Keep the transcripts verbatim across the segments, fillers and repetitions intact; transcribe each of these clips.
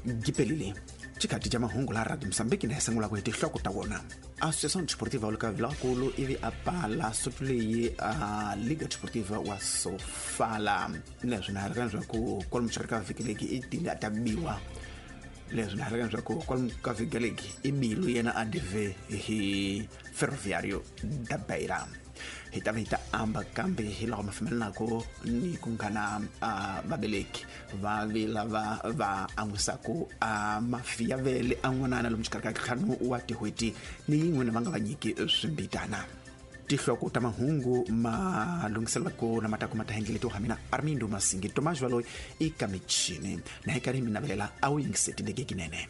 Gipelile xikati xa mahungu la Radio Mozambique na hi sungula ku hi tinhloko ta wona. Associação Desportiva wa ka Vilakulu ivi a pala sotu leyi a Liga Desportiva wa Sofala. Leswi na ri leswaku kwalomu xikarhi ka vhiki leyi i tile a ta biwa. Leswi na ri leswaku kwalomu ka vhiki leyi i bilu yena a dive hi Ferroviário da Beira. Hi ta va hi ta amba kambe hi laha ma fambelanaku ni ku nghana a vabeleki va vi lava va an'wisaku a mafi ya vele a n'wanana lomu xikarhi ka ntlhanu wa tin'hweti ni yin'we va nga va nyiki swimbitana. Tinhloko ta mahungu ma lunghiselelaka na matako ma ta hengele ha mina Armindo Masingi Tomás Valoyi i ka michini na hi karhi mi navelela a wu yingiseti lekekinene.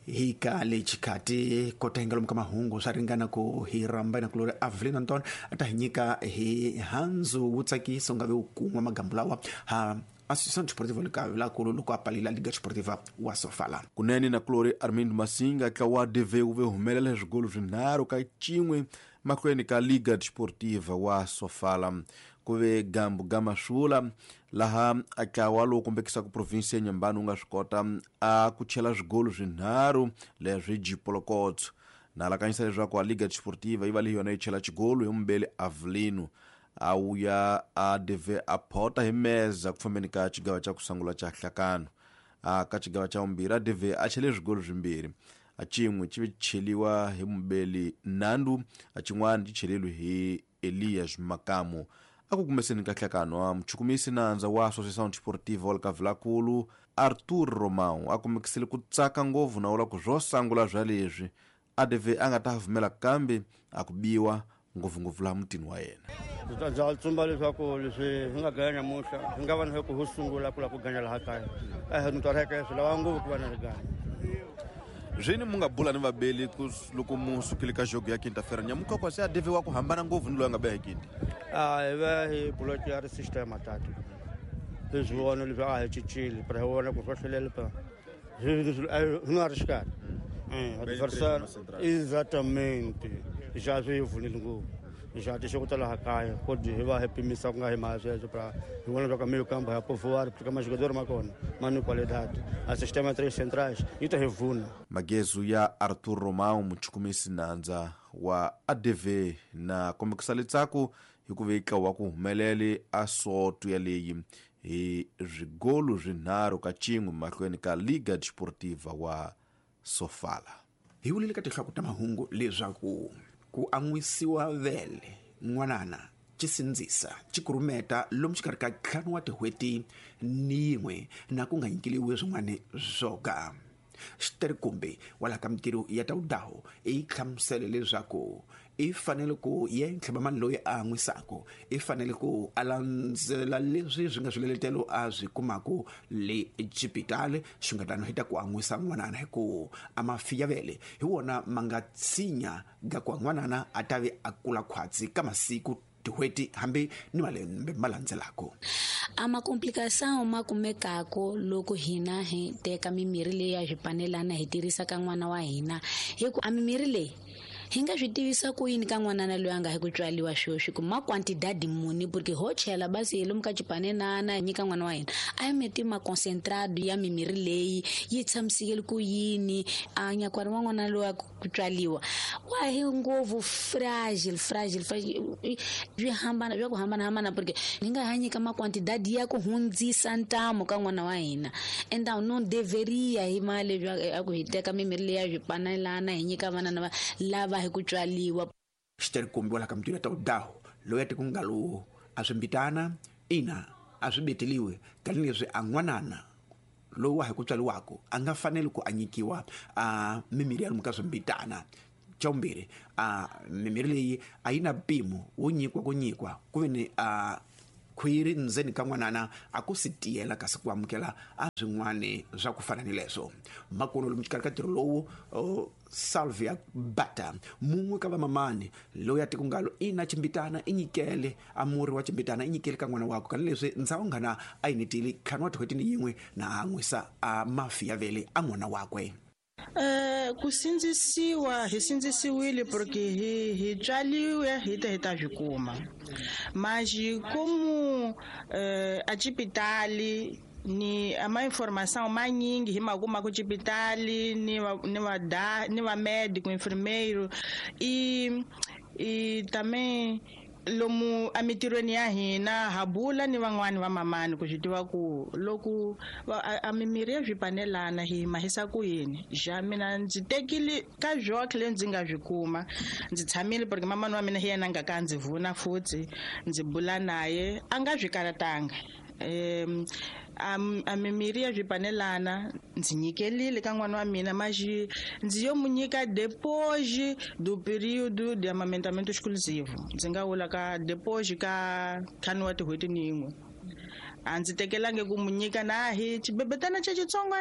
Hi ka le xikati kota hi nga lomu ka mahungu swa ringana ku hi rhamba na kulori Avelino Anton a ta hi nyika hi handzu wu tsakisa u nga ve wu kun'wa magambu lawa ha Associação Desportiva ka Vilakulu loko a palila Liga Desportiva wa Sofala. Kunene na kulori Armindo Masinga tlawa wa D V wu ve humelela swigolo swinharhu ka cin'we mahlweni ka Liga Desportiva wa Sofala. Ku ve gambu gamasula laha a tlawa lowu kombekisaka province ya Nyambani wu nga swi kota a ku chela swigolo swinharhu leswi Jipolokotso. Na alakanyisa leswaku a Liga Desportiva yi va leyi yona yi chela xigolo hi mumbeli Avelino a wuya a deve a phota hi meza ku fambeni ka xigava xa ku sungula xa hlakano. A ka xigava xa vumbirhi a deve a chele swigolo swimbirhi, a xin'we xi ve cheliwa hi mumbeli Nandu, a xin'wana xi cheleliwe hi Elias Makamu. A ku kumeseni ka hlakano a muchukumisi nandza wa Associação Desportiva wa ka Vilakulu Arthur Romão a kumekisile ku tsaka ngopfu na vula ku swo sungula swa leswi a deve a nga ta vumela kambe a ku biwa ngopfungopfu laha mutini wa yena. Ndza tsumba leswaku leswi hi nga ganya namuntlha hi nga va na ku ho sungula ku lava ku ganya laha kaya a hi nitwareke swi lava ngopfu ku va na riganyo. Zwini mu nga bula ni vabeli ku loko mu sukile ka jogo ya quinta-feira nyamuka kwa se a deve wa ku hambana ngopfu ni loyi a nga beha quinta. A hi va hi buloki ya ri system tatu hi swi vona leswi a hi cincile pero hi vona ku swa hlelele pa hi nga ri xikarhi adversário exatamente já swi vunile ngopfu já deixou ku tala kaya kodi hi va hi pimisa ku nga hi mali sweswo pra hi vona loko meio campo ya povoar porque mais jogador ma kona ma ni qualidade a sistema três centrais yi ta hi vuna. Magezu ya Arthur Romão muchukumisi nandza wa A D V na kombekisa letsaku hi ku veka wa ku humelele a soto ya leyi hi swigolo swinharhu ka cin'we mahlweni ka Liga Desportiva wa Sofala. Hi vulile ka tinhloko ta mahungu leswaku ku an'wisiwa vele n'wanana xi sindzisa xi kurumeta lomu xikarhi ka ntlhanu wa tin'hweti ni yin'we na ku nga nyikeliwi swin'wana swo ka. Xiterikumbe wa laha ka mintirho ya tawudaho i hlamusele leswaku i fanele ku ye ntlhabamani loyi a an'wisaku i fanele ku a landzela leswi swi nga swiletelo a swi kumaku le xipitali xi nga tano hi ta ku an'wisa n'wanana hi ku a mafi ya vele hi wona ma nga tshinya ga ku n'wanana a ta ve a kula khwatsi ka masiku tin'hweti hambi ni malembe ma landzelaka. A makomplikação ma kumekako loko hina hi teka mimirhi leyi ya swipanelana hi tirhisa ka n'wana wa hina hi ku a mimirhi leyi hi nga swi tivisa ku yini ka n'wanana loyi a nga hi ku tswaliwa sweswi ku ma quantidade muni porque ho chela basi hi lomu ka xipanenana hi nyika n'wana wa hina a yi meti ma concentrado ya mimirhi leyi yi tshamisekele ku yini a nyakwari wa n'wana loyi a ku tswaliwa wa hi ngopfu fragile fragile fragile swi hambana swa ku hambanahambana porque hi nga ha nyika ma quantidade ya ku hundzisa ntamu ka n'wana wa hina enda non deveria hi mali a ku hi teka mimirhi leyi ya swipanelana hi nyika vana lava lava hi ku tswaliwa. Xiterikumbi wa laha ka mintirho ya tawudaho loyi a tiku nga lowu a swimbitana ina a swi beteliwe tanihileswi a n'wanana lowu wa hi ku tswaliwaka a nga faneli ku a nyikiwa a mimirhi ya lomu ka swimbitana. Xa vumbirhi a mimirhi leyi a yi na mpimo wo nyikiwa ku nyikiwa ku ve ni a khwiri ndzeni ka n'wanana a ku si tiyela kasi ku amukela a swin'wani swa ku fana ni leswo. Makuno lomu xikarhi ka ntirho lowu Salvia Bata mun'we ka vamamani loyi a tiku ngalo i na ximbitana i nyikele a muri wa ximbitana i nyikele ka n'wana wakwe kana leswi ndzawu ngana a yi nitile ntlhanu wa tin'hweti ni yin'we na a n'wisa a mafi ya vele a n'wana wakwe. Eh ku sindzisiwa hi sindzisiwile porque hi hi tswaliwe hi ta hi ta swi kuma. Mas como lomu eh, a cipitali ni ama informação manyingi hi ma kuma ku cipitali ni va ni va da ni va médico enfermeiro e e também lomu emitirhweni ya hina ha bula ni van'wani va mamani ku swi tiva ku loko a mimirhi ya swipanelana hi mahisa ku yini ja mina ndzi tekile ka zwoke leyi ndzi nga swi kuma ndzi tshamile porque mamani wa mina hi yena a nga ka ndzi vuna futhi ndzi bula naye a nga swi karatanga um a mimirhi ya swipanelana ndzi nyikelile ka n'wana wa mina mas ndzi yo mu nyika depois do período de amamentamento exclusivo ndzi nga vula ka depois ka ntlhanu wa tin'hweti ni yin'we a ndzi tekelangi ku mu nyika na hi xibebetana xa xitsongo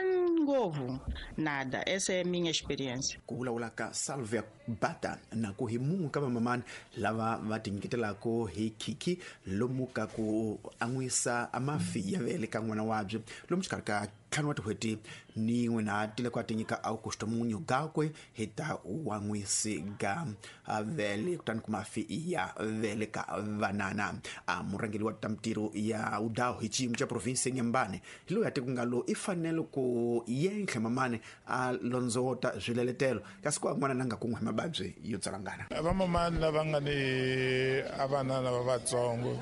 ngopfu nada essa é minha experiência. Ku vulavula ka Salvia Bata na ku hi mun'we ka vamamani lava va tinyiketelaka hi khikhi lomu ka ku an'wisa amafi ya vele ka n'wana wabye lomu xikarhi ka ntlhanu wa tin'hweti ni yin'we na tile ku a tinyika Augusto Munyo gakwe hi ta wan'wisi ga vele kutani ku mafi ya vele ka vanana. A murhangeri wa ta mitirho ya udawu hi xiyimo xa province ya Nyambane hi loyi a ti ku nga lo i fanele ku yentlhe mamani a londzota swileletelo kasi ku an'wana na nga kun'we hi mavabyi yo tsalangana. Vamamani lava nga ni a vana lava vatsongo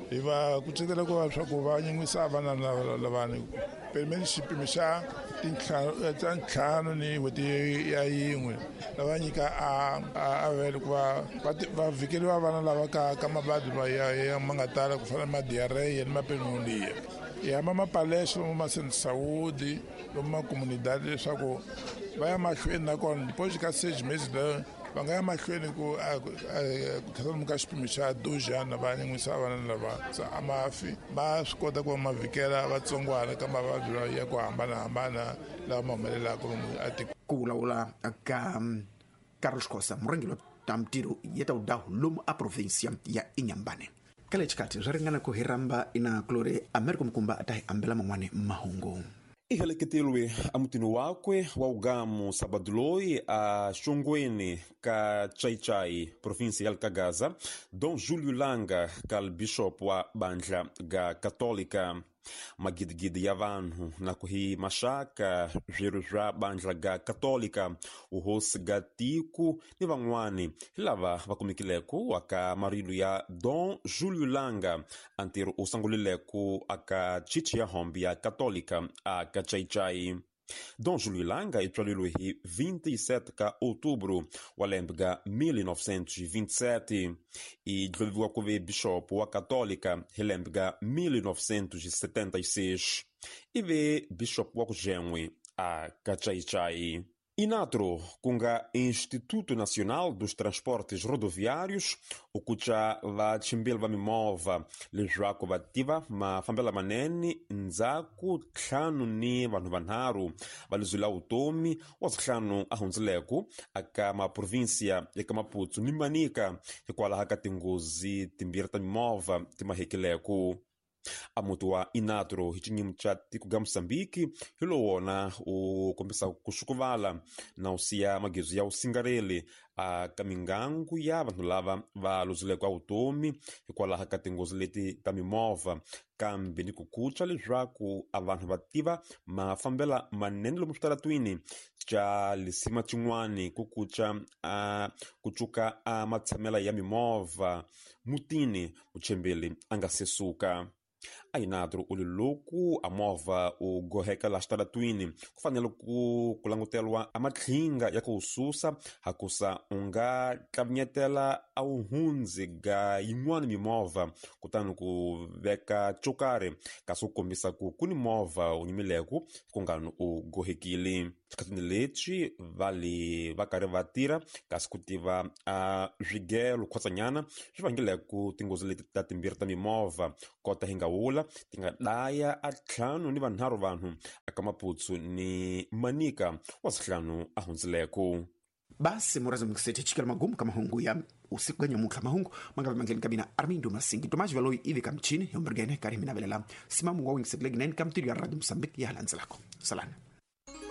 hi va kucetela ku va swa ku va nyin'wisa vana lavani pimeni xipimo xa tintlhanu ta ntlhanu ni n'hweti ya yin'we lava nyika a a vele ku va va vhikeriwa vana lava ka ka mavabyi ya ya ma nga tala ku fana na ma-diarrhea ni ma-pneumonia. Hi hamba mapalesha lomu ma saúde lomu ma comunidade leswaku va ya mahlweni nakona depois ka seis meses va nga ya mahlweni ku ku ka xipimo xa dojana va nyin'wisa vana lava a mafi ma swi kota ku va ma vhikela vatsongwana ka mavabyi ya ku hambanahambana lawa ma humelelaka lomu atikweni. Ku vulavula ka Carlos Khosa murhangeri wa ta mitirho ya ta udawu lomu a provinsia ya Inhambane. Ka le xikarhi swi ringana ku hi rhamba ina kulori America Mukumba a ta hi ambela man'wani mahungu. Iheleketelwe emutini wakwe wa ugamu sabado loyi a xongweni ka Chaichai provinsia ya Likagaza Dom Júlio Langa kal bishop wa bandla ga Católica. Magidigidi ya vanhu na ku hi maxaka swirho swa bandla ga Católica uhosi ga tiko ni van'wani hi lava va kumekileko aka marilo ya Dom Júlio Langa a ntirho u sungulileko aka chichi ya hombi ya Católica aka Chaichai. Dom Júlio Langa i tswaleriwe hi vinte e sete ka outubro wa lembe ga mil novecentos e vinte e sete i dloviwa ku ve bishop wa Católica hi lembe ga mil novecentos e setenta e seis i ve bishop wa ku jen'we a ka Chaichai. Inatro, ku nga Instituto Nacional dos Transportes Rodoviários, ukuca vachimbeli va mimovha leswaku va tiva mafambelo manene ndzhaku ntlhanu ni vanhu vanharhu va luzula vutomi wa ntlhanu a hundzileko aka maprovinsia eka Maputo ni Manica hikwalaho ka tinghozi timbirhi ta mimovha ti mahekileko. A muti wa Inatro hi xinyimu xa tiko ga Moçambique hi lowu wona u kombisa ku xukuvala na u siya magezu ya usingareli a ka mingangu ya vanhu lava va luzileke a vutomi hikwalaho ka tinghozi leti ta mimovha kambe ni ku kuca leswaku a vanhu va tiva mafambela manene lomu switaratwini xa lisima xin'wani ku kuca a ku cuka a matshamela ya mimovha mutini muchembeli a nga se suka. A Inatro u li loku a movha u goheka la xitaratwini ku fanele ku ku languteriwa a matlhinga ya ku susa hakusa u nga tlavinyetela a wu hundzi ga yin'wana mimovha kutani ku veka xo karhi kasi u kombisa ku ku ni movha wu nyimileko ku ngani u gohekile. Xikhathini lexi va li va karhi va tirha kasi ku tiva a swigelo khwatsanyana swi vangileko tinghozi leti ta timbirhi ta mimovha kota hi nga wula ti nga daya a ntlhanu ni vanharhu vanhu aka Maputo ni Manica wa ntlhanu a hundzileko. Basi murazi mkisete chikela magumu kama mahungu ya usiku ganya mukla mahungu mangabe mangeni kabina Armindo Masingi Tomaji Valoi ivi kamchini yombergene kari minavelela simamu wa wing setlegi nine kamtiri ya Radio Mozambique ya halanzelako salana.